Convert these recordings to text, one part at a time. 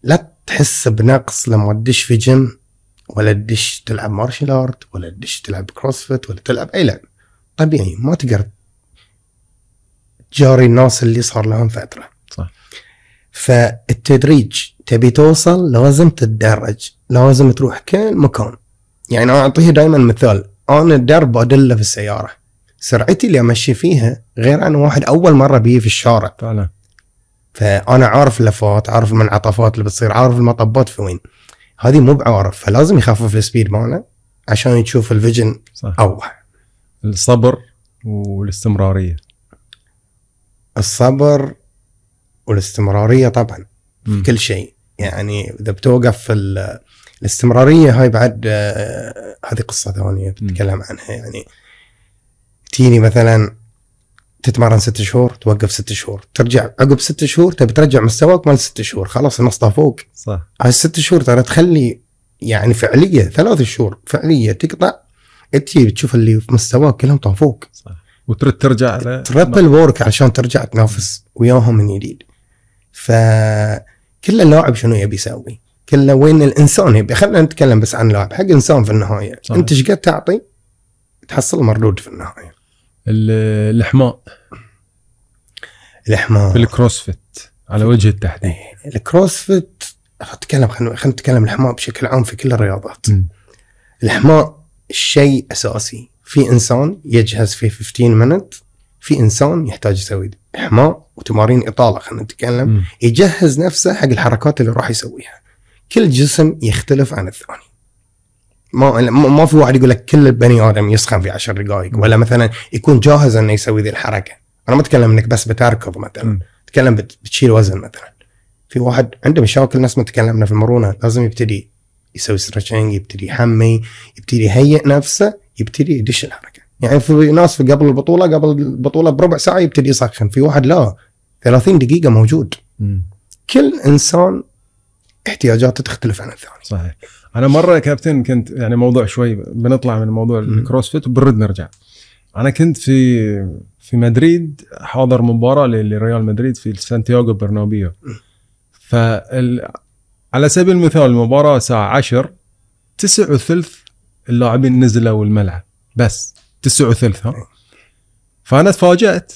لا تحس بنقص لما تدش في جيم ولا تدش تلعب مارشال ارت ولا تدش تلعب كروسفيت ولا تلعب اي لعب. طبيعي ما تقدر تجاري الناس اللي صار لهم فترة. صح. فالتدريج تبي توصل لازم تتدرج، لازم تروح كل مكان. يعني أنا أعطيه دائما مثال، أنا الدرب أدله في السيارة، سرعتي اللي أمشي فيها غير عن واحد أول مرة بيه في الشارع فعلا. فأنا عارف اللفات، عارف المنعطفات اللي بتصير، عارف المطبات في وين. هذه مو بعارف، فلازم يخفف السبيد ماله عشان يشوف الفيجن أوضح. الصبر والاستمرارية. الصبر والاستمرارية طبعا في كل شيء. يعني إذا بتوقف في الاستمرارية هاي بعد هذه قصة ثانية بتكلم عنها. يعني تيني مثلا تتمرن 6 شهور، توقف 6 شهور، ترجع عقب 6 شهور تبي ترجع مستواك مال 6 شهور، خلاص النص فوق. صح. هاي 6 شهور ترى تخلي يعني فعلية 3 شهور فعلية تقطع، انتي بتشوف اللي في مستواك كلهم طافوك. صح. وترد ترجع على تربل وورك عشان ترجع تنافس وياهم من جديد. فكل اللاعب شنو يبي يسوي، كله وين الانسان يبي. خلينا نتكلم بس عن لاعب، حق انسان في النهايه. صحيح. انت ايش قد تعطي تحصل مردود في النهايه. الاحماء في الكروسفيت على وجه التحديد. الكروسفيت خلينا نتكلم الاحماء بشكل عام في كل الرياضات. الاحماء شيء اساسي. في انسان يجهز في 15 minute، في انسان يحتاج يسوي احماء وتمارين اطاله. خلينا نتكلم يجهز نفسه حق الحركات اللي راح يسويها. كل جسم يختلف عن الثاني. ما في واحد يقول لك كل البني ادم يسخن في 10 دقائق ولا مثلا يكون جاهز انه يسوي ذي الحركه. انا ما اتكلم انك بس بتركض مثلا، اتكلم بتشيل وزن مثلا. في واحد عنده مشاكل، ناس ما تكلمنا في المرونه، لازم يبتدي يسوي ستريتشنج، يبتدي يحمي، يبتدي يهيئ نفسه، يبتدي يدش الحركه. يعني في ناس في قبل البطوله بربع ساعه يبتدي يسخن، في واحد لا 30 دقيقه موجود. كل انسان احتياجاته تختلف عن الثاني. صحيح. انا مره كابتن كنت يعني موضوع شوي بنطلع من موضوع الكروسفيت وبنرد نرجع. انا كنت في مدريد حاضر مباراه لريال مدريد في سانتياغو برنابيو. على سبيل المثال المباراه الساعه 10 9:30 اللاعبين نزلوا الملعب، بس 9:30. ها فانا تفاجأت.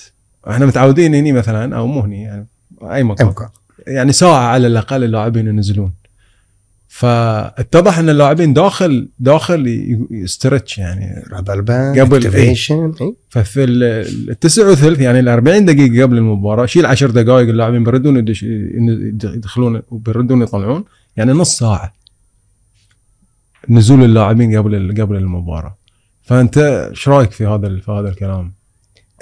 احنا متعودين هني مثلا او مو هني يعني اي مكان يعني ساعه على الاقل اللاعبين ينزلون. فاتضح ان اللاعبين داخل يسترتش يعني قبل اكتيفيشن. ففي 9:30 يعني 40 دقيقه قبل المباراه شيل 10 دقائق اللاعبين بيردون يدخلون وبيردون يطلعون، يعني نص ساعه نزول اللاعبين قبل المباراه. فانت ايش رايك في هذا الكلام؟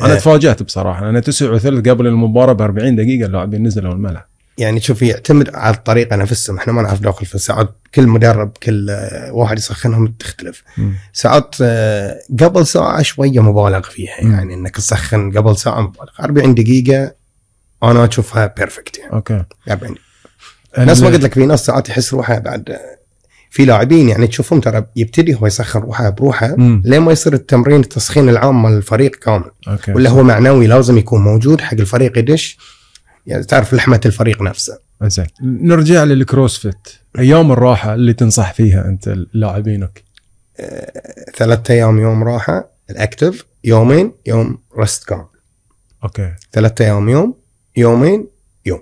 انا تفاجأت بصراحه. انا 9:30 قبل المباراه ب40 دقيقه اللاعبين نزلوا الملعب. يعني شوف يعتمد على الطريقه نفسها. احنا ما نعرف داخل في ساعات كل مدرب كل واحد يسخنهم تختلف. ساعات قبل ساعه شويه مبالغ فيها. يعني انك تسخن قبل ساعه مبالغ. 40 دقيقه انا اشوفها بيرفكت يعني. اوكي 40. ناس ما قلت لك في ناس ساعات يحس روحه بعد. في لاعبين يعني تشوفهم ترى يبتدي هو يسخن روحه بروحه لين ما يصير التمرين التسخين العام مال الفريق كامل. ولا هو معنوي لازم يكون موجود حق الفريق يدش. يعني تعرف لحمة الفريق نفسه. زين نرجع للكروسفيت. ايام الراحه اللي تنصح فيها انت لاعبينك؟ 3 أيام يوم راحه الاكتف، يومين يوم رست كامل. اوكي 3 أيام يومين يوم.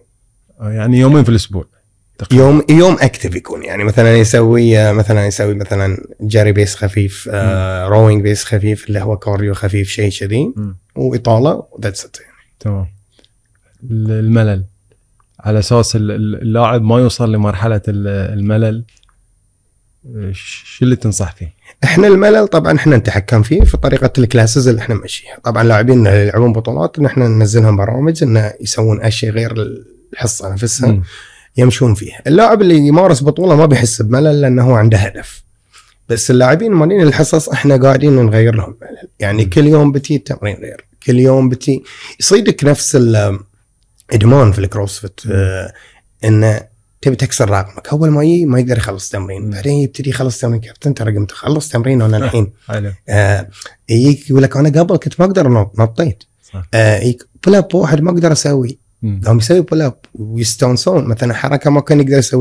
يعني يومين في الاسبوع تقريبا. يوم اكتف يكون يعني مثلا يسوي مثلا جاري بيس خفيف، روينج بيس خفيف اللي هو كارديو خفيف شيء كذي، واطاله وذاتس ات يعني. تمام. الملل على اساس اللاعب ما يوصل لمرحله الملل، شو اللي تنصح فيه؟ احنا الملل طبعا احنا نتحكم فيه في طريقه الكلاسز اللي احنا نمشيها. طبعا لاعبين اللي يلعبون بطولات ان احنا ننزلهم برامج انه يسوون اشياء غير الحصه نفسها يمشون فيها. اللاعب اللي يمارس بطوله ما بيحس بملل لانه هو عنده هدف. بس اللاعبين مالين الحصص احنا قاعدين نغير لهم ملل. يعني كل يوم بتي تمرين غير، كل يوم بتي يصيدك نفس ادمان في الكروسفيت. انه تبي تكسر رقمك. اول ما يقدر يخلص تمرين، بعدين يبتدي يخلص تمرين. كابتن ترى قمت اخلص تمرين وانا الحين يجيك يقول لك انا قبل كنت ما اقدر نطيت. بول اب واحد ما اقدر اسوي، قام يسوي بول اب ويستانسون مثلا حركه ما كان يقدر يسويها.